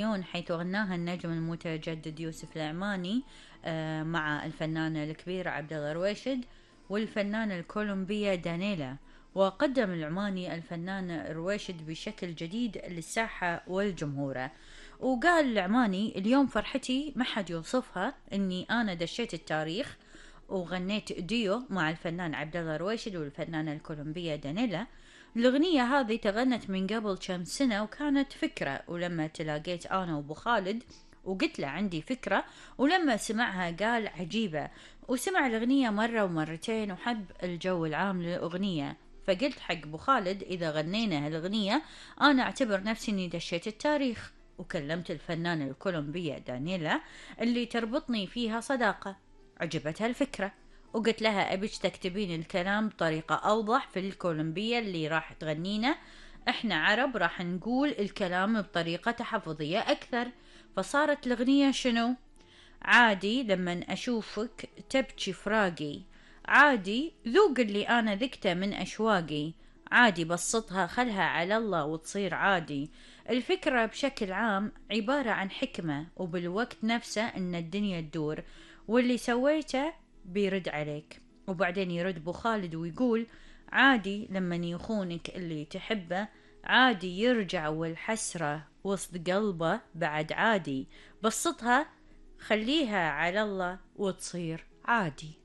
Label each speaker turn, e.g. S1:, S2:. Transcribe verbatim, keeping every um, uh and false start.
S1: يون حيث غناها النجم المتجدد يوسف العماني آه، مع الفنانة الكبيرة عبد الله رويشد والفنانة الكولومبية دانيلا. وقدم العماني الفنان رويشد بشكل جديد للساحة والجمهور. وقال العماني: اليوم فرحتي ما حد يوصفها، اني انا دشيت التاريخ وغنيت ديو مع الفنان عبد الله رويشد والفنانة الكولومبية دانيلا. الأغنية هذه تغنت من قبل كم سنة وكانت فكرة، ولما تلاقيت أنا وأبو خالد وقلت له عندي فكرة، ولما سمعها قال عجيبة، وسمع الأغنية مرة ومرتين وحب الجو العام للأغنية. فقلت حق أبو خالد: إذا غنينا هالأغنية أنا أعتبر نفسي إني دشيت التاريخ. وكلمت الفنانة الكولومبية دانيلا اللي تربطني فيها صداقة، عجبتها الفكرة، وقلت لها أبيش تكتبين الكلام بطريقة أوضح في الكولومبية اللي راح تغنينا، إحنا عرب راح نقول الكلام بطريقة تحفظية أكثر. فصارت الأغنية شنو؟ عادي لما أشوفك تبكي فراقي، عادي ذوق اللي أنا ذقته من أشواقي، عادي بسطها خلها على الله وتصير عادي. الفكرة بشكل عام عبارة عن حكمة، وبالوقت نفسه إن الدنيا تدور، واللي سويته بيرد عليك. وبعدين يرد ابو خالد ويقول: عادي لما يخونك اللي تحبه، عادي يرجع والحسرة وسط قلبه بعد، عادي بسطها خليها على الله وتصير عادي.